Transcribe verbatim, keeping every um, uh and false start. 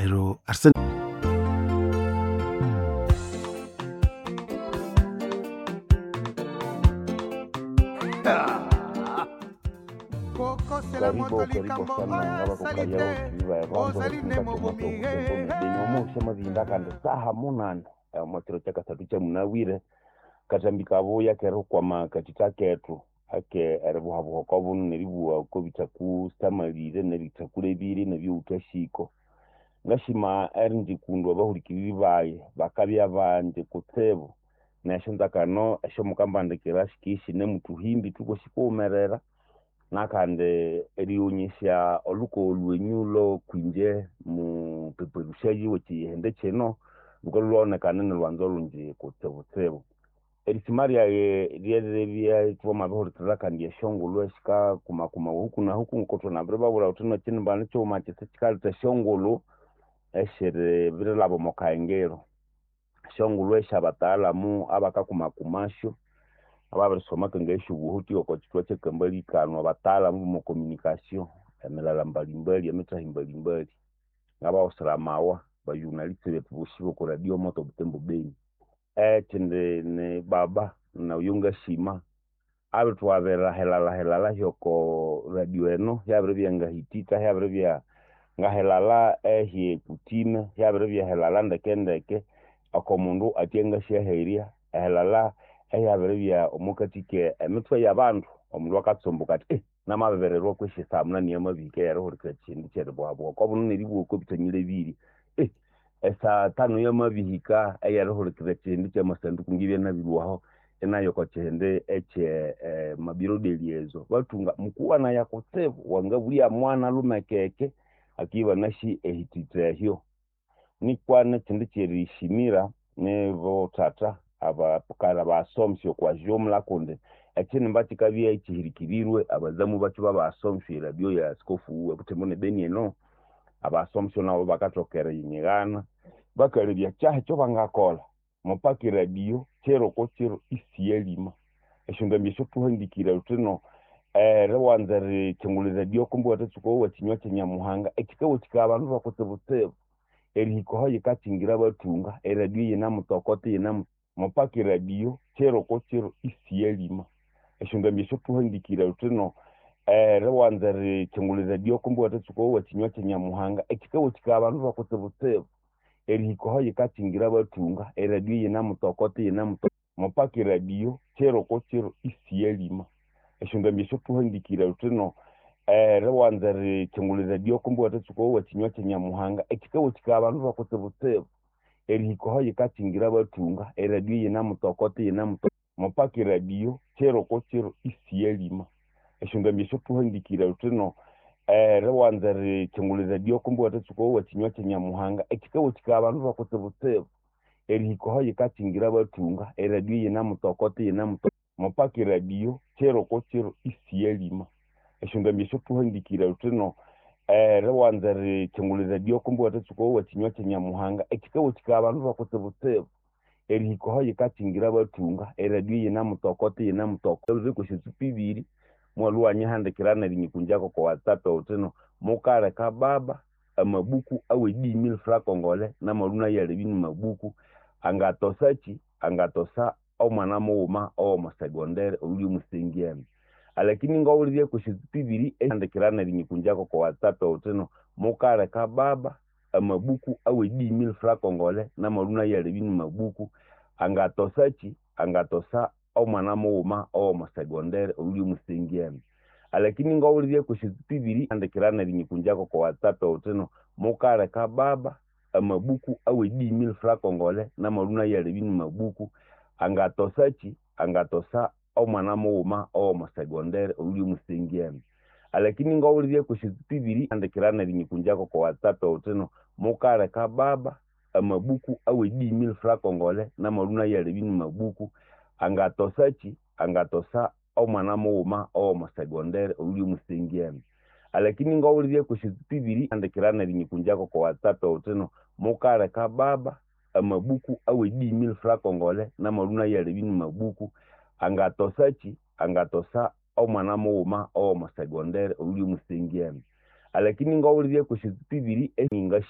Neryo Arsene kokosela Karibu moto karibu likambo sana oyo ngabakukaya asali te ozali nde mobomi omuusha mavinda kandi saha munane omwakiro kya kasathu kyamunawire katambi kabuya kerikwama katita kethu ake eribuhabuha okwabuno neribuha okobithaku samalire nebithakulebire nebyowuthashiko ngashima erinjikundu abahulikiriri bayi bakabya banji kutsibu nesyanzakano esyomukambandikira sikisinemuthuhimbi thukosi kuwumerera nakandi erighonyesya olhukogo lwenyu lwokwinje mupeperusyayi wekyihindi kino lhukalhwa lhwawonekana inilhwanza olhungi kutsibutsibu. Erisima ryayi ryeribya ithwamabirihulikirira kandi esyongulhu esikakumakumawa huku na huku ngoko thwanabiribabwira thuthi nekyinimba kyighuma kyisi kyikaletha esyongulhu esiribirilhaba omo kahengero. Esyongulhu esyabatahalamu abakakumakumasyo ababirisoma kangayi esyobuhuti oko kyithwa kyekambalikano abatahalamu bomo communication emilala mbalimbali emithahi mbalimbali ngabawusira amawa bajournaliste bethu bosi boko radio moto Butembo Beni. Ekyindi ni baba noyo ngasima abirithwabira helala helala hyoko radio eno hyabiribya ngahitita hyabiribya ngahelala ehyekutime hyabiribya helala ndeke ndeke oko mundu atyangasyaherya ehelala ehyabiribya omokathika emithwe yabandu omundu akatsumbuka athi eh namabirirwa kwesi saa munani yamabihika eyerihulikirira ekyindu kyeribuhabuha okwabuno neribuha okobithanyilebire eh esaa tano yamabihika eyerihulikirira ekyindu kyamasanduku ngibya nabilwaho inayo okokyihindi ekye eh, mabiro deliezo bathunga mukuwanaya kutsibu wangabulya mwana lumekeke akiba nasi ehititha ehyo nikwa nekyindi kyerishimira nibothatha abakara basomesya okwa jumla kundi ekyinimba kyikabya ekyihirikirirwe abazamu bakyo babasomesya eradio ya askofu webutembo ne Beni eno abasomesya nabo bakathoka eriyinyigana bakalebya kyahi ekyobangakolha mupaka eradio kiro ko kiro isiyalima esyondambi esyo thuhandikire thuthino eriwanza erikyungulha eradio kumbi iwathatsuka owa kyinywa kyanyamuhanga ekyikawathikaya abandu bakutsibutsibu erihika aho yikakyingira bathunga eradio yinamutokota yinamu mupaka eradio kiro ko kiro isiyalima esyondambi esyo thuhandikire thuthino eriwanza erikyungulha eradio kumbi iwathatsuka owa kyinywa kyanyamuhanga ekyikawathikaya abandu bakutsibutsibu erihika aho yikakyingira bathunga eradio yinamutokota yinamuto mupaka eradio kiro ko kiro isiyalima esyondambi esyo thuhandikire thuthino eriwanza erikyungulha eradio kumbi iwathatsuka owa kyinywa kyanyamuhanga ekyikawathikaya abandu bakutsibutsibu erihika aho yikakyingira bathunga eradio yinamutokota yinamuto mupaka eradio kiro ko kiro isiyalima esyondambi esyo thuhandikire thuthino eriwanza erikyungulha eradio kumbi iwathatsuka owa kyinywa kyanyamuhanga ekyikawathikaya abandu bakutsibutsibu erihika aho yikakyingira bathunga eradio yinamutokota yinamuto mupaka eradio kiro ko kiro isiyalima esyondambi esyo thuhandikire thuthino eriwanza erikyungulha eradio kumbi iwathatsuka owa kyinywa kyanyamuhanga ekyikawathikaya abandu bakutsibutsibu erihika aho yikakyingira bathunga eradio yinamutokota yinamutoko kwesya tsupu ibiri mwalhu wanyihandikira nerinyikunjako oko whatsapp wuthino mukaleka baba amabuku awe dix mille francs congolais namalhu nayalebya ni mabuku angatosakyi angatosa omwana mughuma owomo secondary oyuli omusengyani alakini ngawulirye kwesya tsupu ibiri ehandikira nerinyikunjako oko whatsapp wuthino mukaleka baba amabuku awe dix mille francs congolais namalhu nayalebya ni mabuku angatosakyi angatosa omwana mughuma owomo secondary oyuli omusengyani alakini ngawulirye kwesya tsupu ibiri handikira nerinyikunjako oko whatsapp wuthino mukaleka baba amabuku awe dix mille francs congolais namalhu nayalebya ni mabuku angatosakyi angatosa omwana mughuma owomo secondary oyuli omusengyani alakini ngawulirye kwesya tsupu ibiri handikira nerinyikunjako oko whatsapp wuthino mukaleka baba amabuku awe dix mille francs congolais namalhu nayalebya ni mabuku angatosakyi angatosa omwana mughuma owomo secondary oyuli omusengyani alakini ngawulirye kwesya tsupu ibiri handikira nerinyikunjako oko whatsapp wuthino mukaleka baba amabuku awe dix mille francs congolais namalhu nayalebya ni mabuku angatosakyi angatosa omwana mughuma owomo secondary oyuli omusengyani alakini ngawulirye kwesya tsupu ibiri eninga